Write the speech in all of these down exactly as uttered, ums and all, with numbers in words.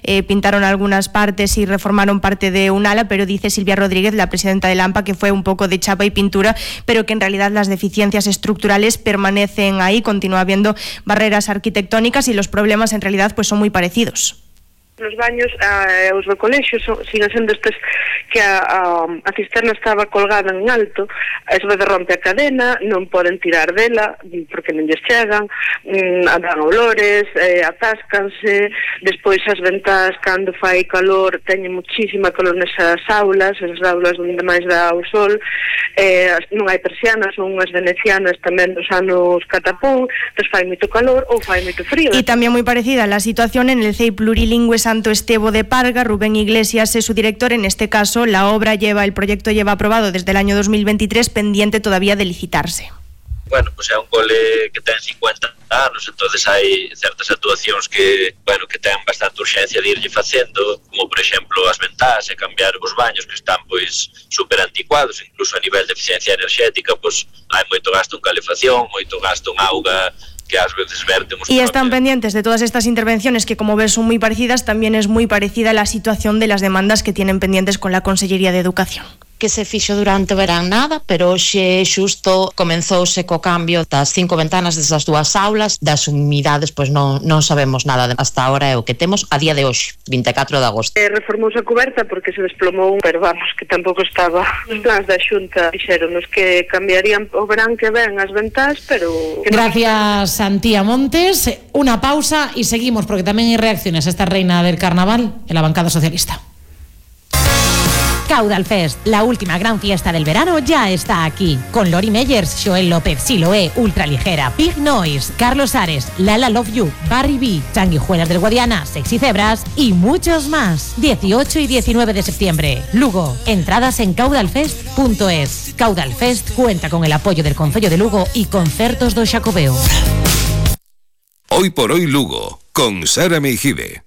eh, pintaron algunas partes y reformaron parte de un ala, pero dice Silvia Rodríguez, la presidenta del AMPA, que fue un poco de chapa y pintura, pero que en realidad las deficiencias estructurales permanecen ahí, continúa habiendo barreras arquitectónicas y los problemas en realidad pues son muy parecidos. Nos baños, eh, os do colexio son, siguen sendo estes que a, a, a cisterna estaba colgada en alto, a veces rompe a cadena, non poden tirar dela porque non lles chegan, mm, dan olores, eh, atáscanse, despois as ventás cando fai calor teñen muchísima calor nesas aulas, esas aulas onde máis dá o sol, eh, non hai persianas, son unhas venecianas tamén dos anos catapún, entón fai moito calor ou fai moito frío. Y también muy parecida la situación en el C E I plurilingüe Santo Estevo de Parga. Rubén Iglesias es su director. En este caso, la obra lleva, el proyecto lleva aprobado desde el año dos mil veintitrés, pendiente todavía de licitarse. Bueno, pues é un cole que ten cincuenta anos, entonces hai certas actuacións que, bueno, que ten bastante urxencia de irlle facendo, como por exemplo as ventás e cambiar os baños que están pois super anticuados, incluso a nivel de eficiencia enerxética, pois hai moito gasto en calefacción, moito gasto en auga que ás veces vertemos. Y están pendientes de todas estas intervenciones que, como ves, son muy parecidas. También es muy parecida la situación de las demandas que tienen pendientes con la Consellería de Educación. Que se fixo durante o verán nada, pero hoxe xusto comenzouse co cambio das cinco ventanas desas dúas aulas, das humidades, pois non, non sabemos nada hasta ahora, é o que temos a día de hoxe, vinte e catro de agosto. Eh, reformouse a coberta porque se desplomou, pero vamos, que tampouco estaba nos plans da Xunta, dixeronos que cambiarían o verán que ven as ventás, pero... Gracias, Antía Montes. Una pausa y seguimos, porque tamén hai reacciones a esta reina del carnaval en la bancada socialista. Caudal Fest, la última gran fiesta del verano, ya está aquí. Con Lori Meyers, Joel López, Siloé, Ultraligera, Big Noise, Carlos Ares, Lala Love You, Barry B, Sanguijuelas del Guadiana, Sexy Cebras y muchos más. dieciocho y diecinueve de septiembre. Lugo. Entradas en caudalfest punto es. Caudal Fest cuenta con el apoyo del Concello de Lugo y Concertos do Xacobeo. Hoy por hoy Lugo, con Sara Meijide.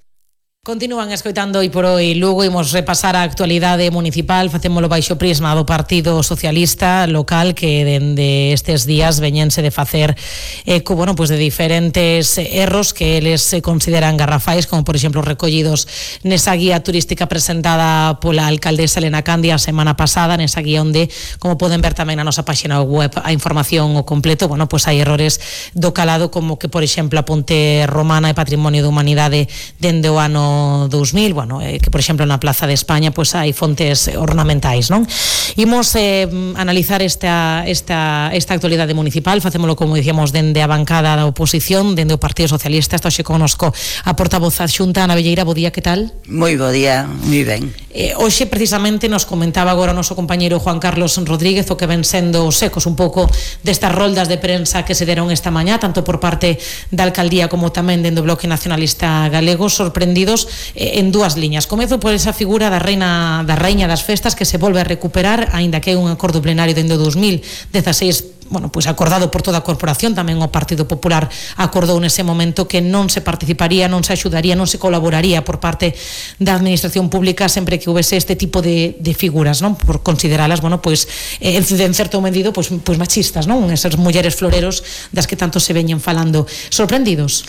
Continúan escoitando Hoy por Hoy Lugo. Imos repasar a actualidade municipal. Facémolo baixo prisma do Partido Socialista local, que dende estes días veñense de facer eco, bueno, pues de diferentes erros que eles consideran garrafais, como por exemplo recollidos nesa guía turística presentada pola alcaldesa Elena Candia a semana pasada, nesa guía onde, como poden ver tamén na nosa páxina web, a información o completo. Bueno, pues hai errores do calado, como que por exemplo a Ponte Romana é Patrimonio da Humanidade dende o ano dos mil, bueno, eh, que por exemplo na Plaza de España pois hai fontes ornamentais, non? Imos eh, analizar esta, esta, esta actualidade municipal. Facémolo, como dicíamos, dende a bancada da oposición, dende o Partido Socialista. Está hoxe connosco a portavoz adxunta Ana Velleira. Bo día, que tal? Moi bo día, moi ben. Eh, hoxe precisamente nos comentaba agora o noso compañeiro Juan Carlos Rodríguez o que ven sendo os ecos un pouco destas roldas de prensa que se deron esta mañá, tanto por parte da alcaldía como tamén dende o Bloque Nacionalista Galego, sorprendidos en dúas liñas. Comezo por esa figura da reina da raíña das festas, que se volve a recuperar, aínda que é un acordo plenario dende o dos mil dezaseis, bueno, pois acordado por toda a corporación. Tamén o Partido Popular acordou nese momento que non se participaría, non se axudaría, non se colaboraría por parte da administración pública sempre que houvese este tipo de, de figuras, non? Por consideralas, bueno, pois eh, en certo medido, pois, pois machistas, non? Esas mulleres floreros das que tanto se veñen falando. Sorprendidos?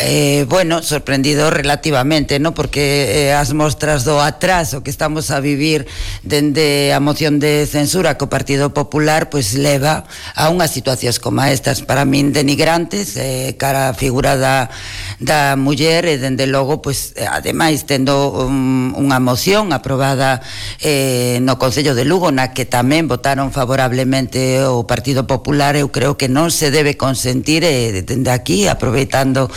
Eh, bueno, sorprendido relativamente, ¿no? Porque eh, as mostras do atraso que estamos a vivir dende a moción de censura que o Partido Popular pois leva a unhas situacións como estas, para min denigrantes, eh, cara a figura da, da muller, e dende logo, pois, ademais, tendo un, unha moción aprobada eh, no Concello de Lugo, na que tamén votaron favorablemente o Partido Popular, eu creo que non se debe consentir, eh, dende aquí, aproveitando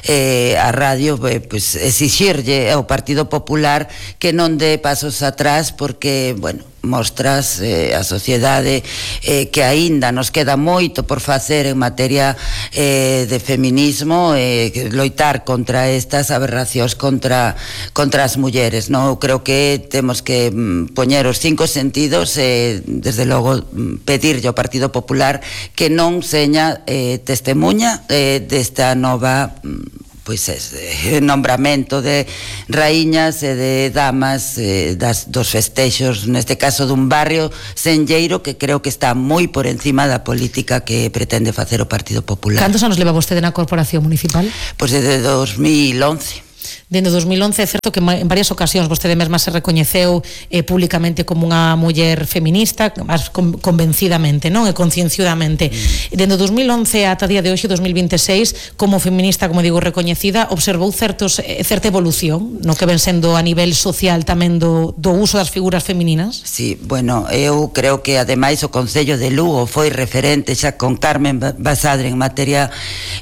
Eh, a radio, eh, pues, exixirlle ao Partido Popular que non dé pasos atrás, porque, bueno, mostras eh, a sociedade eh, que aínda nos queda moito por facer en materia eh, de feminismo, eh, loitar contra estas aberracións contra, contra as mulleres, non? Eu creo que temos que mm, poñer os cinco sentidos, eh, desde logo mm, pedirlle ao Partido Popular que non seña eh, testemunha eh, desta nova mm, pois é, nombramento de raíñas e de damas eh, das, dos festexos, neste caso dun barrio senlleiro que creo que está moi por encima da política que pretende facer o Partido Popular. Cantos anos leva vostede na Corporación Municipal? Pois desde dos mil once. Dende dos mil once é certo que en varias ocasións vostede mesma se recoñeceu eh, públicamente como unha muller feminista, máis convencidamente, non? E concienciudamente. Mm. Dende dos mil once ata día de hoxe, dos mil veintiséis, como feminista, como digo, recoñecida, observou certos, certa evolución no que ven sendo a nivel social tamén do, do uso das figuras femininas? Sí, bueno, eu creo que ademais o Concello de Lugo foi referente xa con Carmen Basadre en materia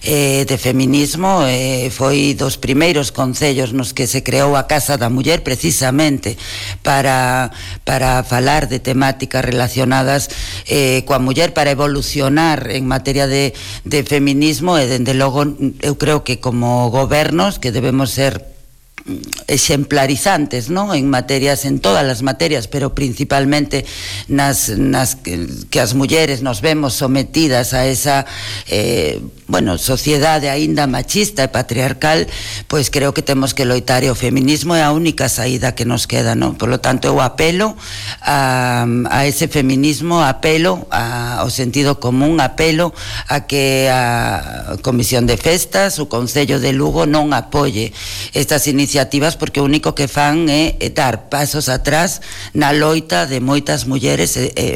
eh, de feminismo, eh, foi dos primeiros concellos nos que se creou a Casa da Muller precisamente para, para falar de temáticas relacionadas eh, coa muller, para evolucionar en materia de, de feminismo, e dende logo eu creo que como gobernos que debemos ser exemplarizantes, ¿no? En materias, en todas as materias, pero principalmente nas, nas que, que as mulleres nos vemos sometidas a esa eh, bueno, sociedade aínda machista e patriarcal, pois creo que temos que loitar, e o feminismo é a única saída que nos queda, ¿no? Por lo tanto, eu apelo a, a ese feminismo, apelo a, ao sentido común, apelo a que a Comisión de Festas, o Concello de Lugo non apoie estas iniciativas, porque o único que fan é dar pasos atrás na loita de moitas mulleres. E, e,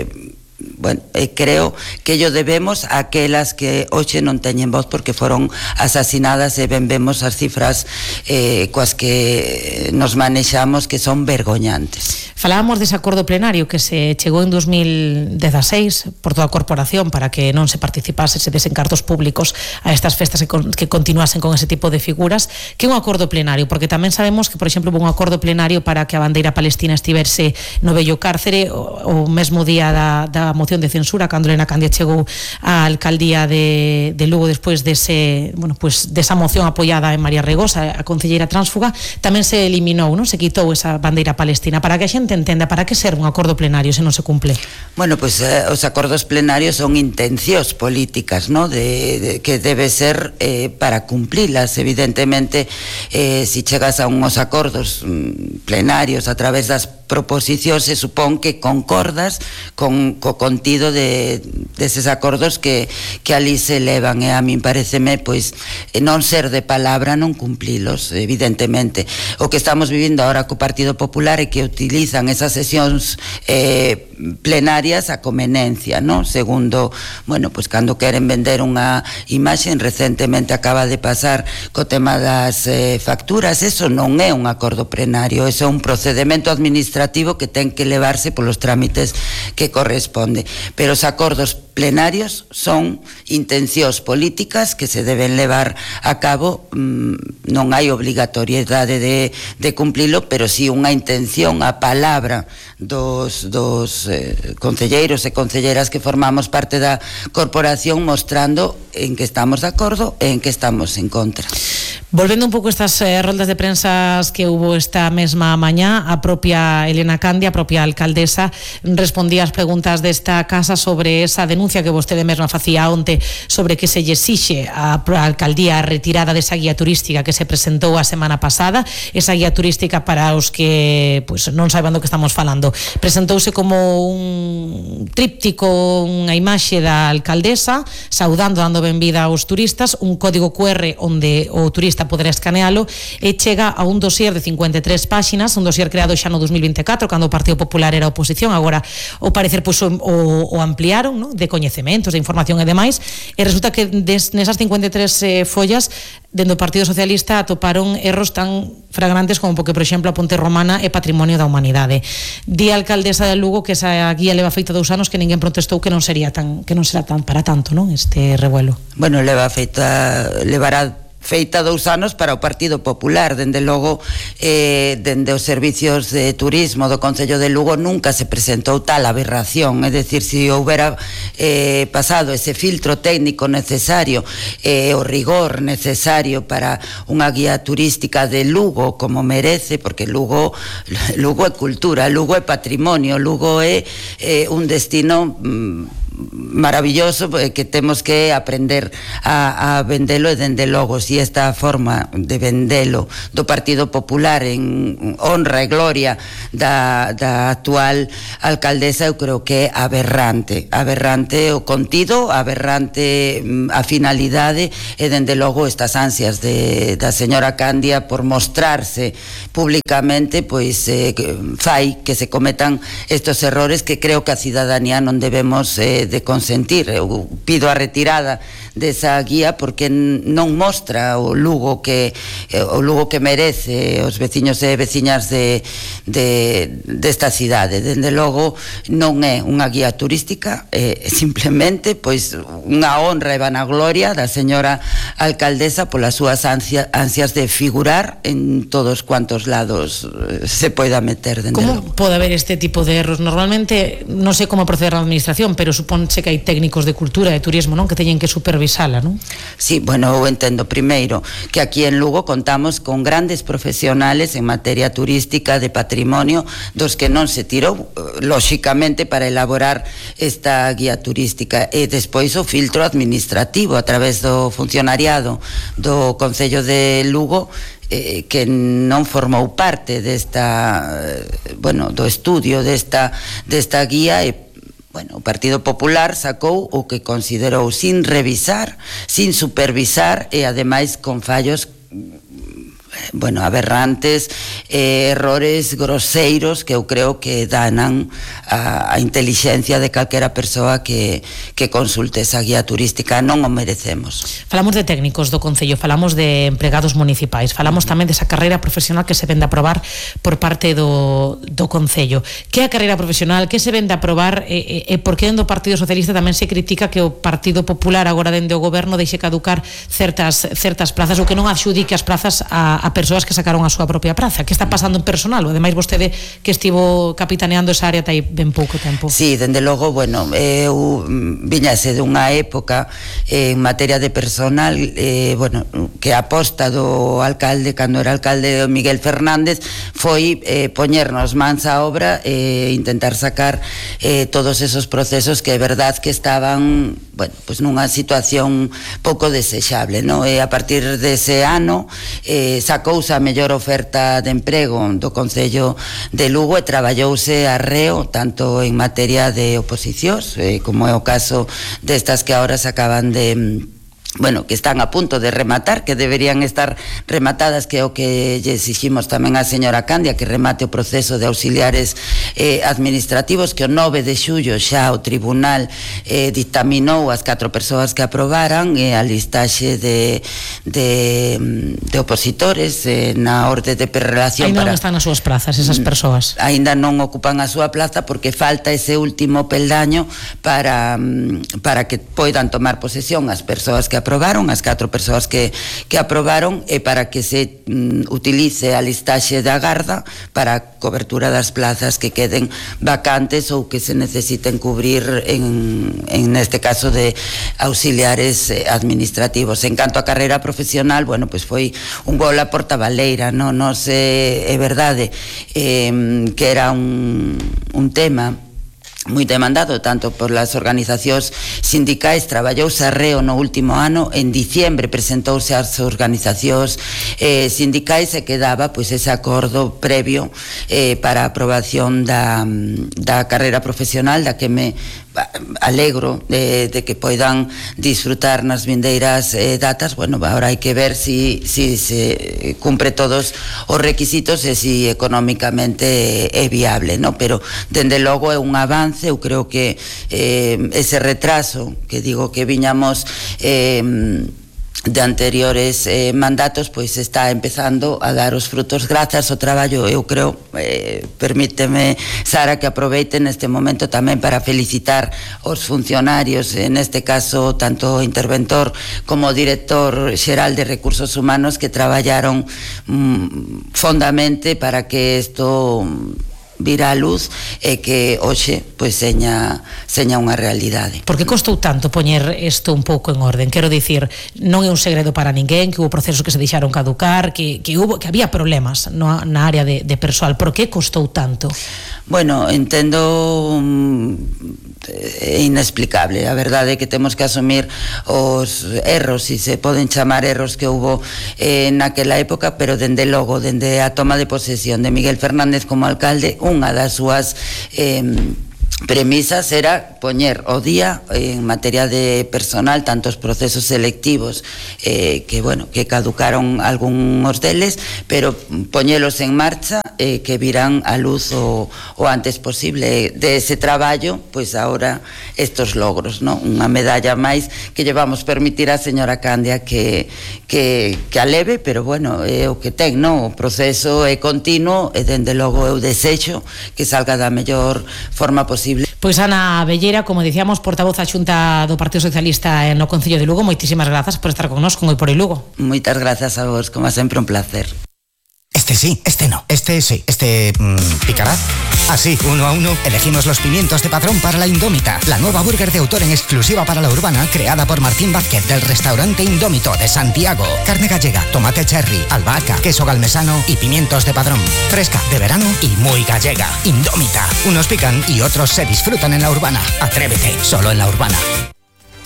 bueno, e creo que ello debemos a aquelas que hoxe non teñen voz porque foron asasinadas, e ben vemos as cifras eh, coas que nos manexamos, que son vergoñantes. Falábamos dese acordo plenario que se chegou en dos mil dezaseis por toda a corporación para que non se participase, se desen cartos públicos a estas festas que, con, que continuasen con ese tipo de figuras. Que é un acordo plenario? Porque tamén sabemos que, por exemplo, hubo un acordo plenario para que a bandeira palestina estivese no vello cárcere o, o mesmo día da, da moción de censura, cando Elena Candia chegou á alcaldía de, de Lugo despois dese, bueno, pues, desa moción apoiada en María Regosa, a concelleira tránsfuga, tamén se eliminou, non? Se quitou esa bandeira palestina. Para que a xente entenda, para que serve un acordo plenario se non se cumple? Bueno, pues eh, os acordos plenarios son intencións políticas, ¿no? De, de, que debe ser eh, para cumplilas. Evidentemente, eh, si chegas a unos acordos mm, plenarios a través das proposicións, se supón que concordas con co contido de deses acordos que, que ali se levan, e a min pareceme pois non ser de palabra, non cumplilos, evidentemente. O que estamos vivindo agora co Partido Popular é que utilizan esas sesións eh, plenarias a conveniencia, ¿no? Segundo, bueno, pues cando queren vender unha imaxe, recentemente acaba de pasar co tema das eh, facturas, eso non é un acordo plenario, eso é un procedimento administrativo que ten que levarse polos trámites que corresponde, pero os acordos plenarios son intencións políticas que se deben levar a cabo. Non hai obrigatoriedade de, de cumplilo, pero sí unha intención, a palabra dos, dos eh, concelleiros e concelleras que formamos parte da corporación, mostrando en que estamos de acordo e en que estamos en contra. Volvendo un pouco a estas eh, roldas de prensas que hubo esta mesma mañá, a propia Elena Candia, a propia alcaldesa, respondía as preguntas desta casa sobre esa denuncia que vostede mesma facía onte sobre que se lle exixe a alcaldía a retirada desa guía turística que se presentou a semana pasada. Esa guía turística, para os que pues, non saiban do que estamos falando, presentouse como un tríptico, unha imaxe da alcaldesa saudando, dando benvida aos turistas, un código cu erre onde o turista poderá escanealo, e chega a un dossier de cincuenta e tres páxinas, un dossier creado xa no dos mil veinticuatro, cando o Partido Popular era oposición. Agora, o parecer, pues, o, o ampliaron, ¿no? De coñecementos, de información e demais, e resulta que des, nesas cincuenta e tres eh, follas, dentro do Partido Socialista atoparon erros tan fragrantes como porque, por exemplo, a Ponte Romana é patrimonio da humanidade. Di a alcaldesa de Lugo que esa guía leva feita dous anos, que ninguén protestou, que non sería tan, que non será tan para tanto, non? Este revuelo. Bueno, leva feita, levará feita dous anos para o Partido Popular. Dende logo, eh, dende os servicios de turismo do Concello de Lugo nunca se presentou tal aberración, é dicir, se houbera eh, pasado ese filtro técnico necesario, eh, o rigor necesario para unha guía turística de Lugo como merece, porque Lugo Lugo é cultura, Lugo é patrimonio, Lugo é eh, un destino mm, maravilloso que temos que aprender a, a vendelo e dende logo si esta forma de vendelo do Partido Popular en honra e gloria da, da actual alcaldesa eu creo que é aberrante aberrante o contido, aberrante a finalidade e dende logo estas ansias de, da señora Candia por mostrarse públicamente pois eh, fai que se cometan estos errores que creo que a cidadanía non debemos eh, de consentir. Eu pido a retirada desa guía porque non mostra o Lugo que o Lugo que merece os veciños e veciñas de, de desta cidade. Dende logo non é unha guía turística, é simplemente pois unha honra e vanagloria da señora alcaldesa polas súas ansia, ansias de figurar en todos cuantos lados se poida meter. Dende como logo pode haber este tipo de erros? Normalmente non sei como proceder a administración, pero supónse que hai técnicos de cultura e de turismo, non, que teñen que supervisala, non? Sí, bueno, eu entendo primeiro que aquí en Lugo contamos con grandes profesionales en materia turística, de patrimonio, dos que non se tirou lóxicamente para elaborar esta guía turística, e despois o filtro administrativo a través do funcionariado do Concello de Lugo eh, que non formou parte desta, bueno, do estudio desta, desta guía. E bueno, o Partido Popular sacou o que considerou sin revisar, sin supervisar e ademais con fallos bueno, aberrantes, eh, errores groseiros que eu creo que danan a, a inteligencia de calquera persoa que, que consulte esa guía turística. Non o merecemos. Falamos de técnicos do Concello, falamos de empregados municipais, falamos tamén desa carreira profesional que se vende a aprobar por parte do, do Concello. Que é a carreira profesional? Que se vende a aprobar? E, e, e por que dentro do Partido Socialista tamén se critica que o Partido Popular agora dende o goberno deixe caducar certas, certas plazas ou que non adxudique as plazas a a persoas que sacaron a súa propia praza? Que está pasando en personal? O ademais vostede que estivo capitaneando esa área tai ben pouco tempo. Sí, dende logo, bueno, eu viñase dunha época eh, en materia de personal, eh, bueno, que a aposta do alcalde, cando era alcalde Miguel Fernández, foi eh, poñernos mans á obra e eh, intentar sacar eh, todos esos procesos que é verdad que estaban, bueno, pues nunha situación pouco desexable, no? E a partir dese ano eh, sacouse a mellor oferta de emprego do Concello de Lugo e traballouse arreo tanto en materia de oposicións eh, como é o caso destas que agora se acaban de bueno, que están a punto de rematar, que deberían estar rematadas, que é o que lle exiximos tamén á señora Candia, que remate o proceso de auxiliares eh, administrativos, que o nove de xullo xa o tribunal eh, dictaminou as catro persoas que aprobaran e eh, a listaxe de, de, de opositores eh, na orde de prerelación. Ainda para... non están nas súas plazas esas persoas. Ainda non ocupan a súa plaza porque falta ese último peldaño para, para que poidan tomar posesión as persoas que aprobaron, as catro persoas que, que aprobaron, e para que se mm, utilice a listaxe da garda para a cobertura das plazas que queden vacantes ou que se necesiten cubrir en, en este caso de auxiliares administrativos. En canto a carreira profesional, bueno, pues foi un gol a porta baleira, non, non sei, é verdade eh, que era un, un tema moi demandado tanto por las organizacións sindicais. Traballouse arreo no último ano, en diciembre presentouse ás organizacións eh, sindicais e quedaba pois ese acordo previo eh, para a aprobación da, da carreira profesional, da que me alegro de, de que poidan disfrutar nas vindeiras eh, datas. Bueno, agora hai que ver si, si se cumpre todos os requisitos e si económicamente é viable, no? Pero dende logo é un avance. Eu creo que eh, ese retraso que digo que viñamos eh, de anteriores eh, mandatos, pois está empezando a dar os frutos grazas ao traballo. Eu creo, eh, permíteme, Sara, que aproveite neste momento tamén para felicitar os funcionarios, en este caso tanto o interventor como o director xeral de Recursos Humanos, que traballaron mm, fondamente para que isto vir á luz e que hoxe pois seña, seña unha realidade. Por que costou tanto poñer isto un pouco en orden? Quero dicir, non é un segredo para ninguén que hubo procesos que se deixaron caducar, que, que, hubo, que había problemas no, na área de, de persoal. Por que costou tanto? Bueno, entendo é inexplicable. A verdade é que temos que asumir os erros, se se poden chamar erros que hubo eh, naquela época, pero dende logo, dende a toma de posesión de Miguel Fernández como alcalde, unha das súas eh, premisas era poñer o día en materia de personal tantos procesos selectivos eh, que, bueno, que caducaron algúns deles, pero poñelos en marcha eh, que virán a luz o, o antes posible. De ese traballo, pois agora estos logros, ¿no? Unha medalla máis que lle vamos permitir a señora Candia que, que, que a leve, pero bueno, é o que ten, ¿no? O proceso é continuo e dende logo eu desexo que salga da mellor forma posible. Pois Ana Bellera, como dicíamos, portavoz a Xunta do Partido Socialista no Concello de Lugo, moitísimas grazas por estar connosco en Hoy por Hoy Lugo. Moitas grazas a vos, como sempre un placer. Este sí, este no, este sí, este mmm, picará. Así, uno a uno, elegimos los pimientos de Padrón para la Indómita, la nueva burger de autor en exclusiva para la Urbana, creada por Martín Vázquez del restaurante Indómito de Santiago. Carne gallega, tomate cherry, albahaca, queso galmesano y pimientos de Padrón. Fresca, de verano y muy gallega. Indómita. Unos pican y otros se disfrutan en la Urbana. Atrévete, solo en la Urbana.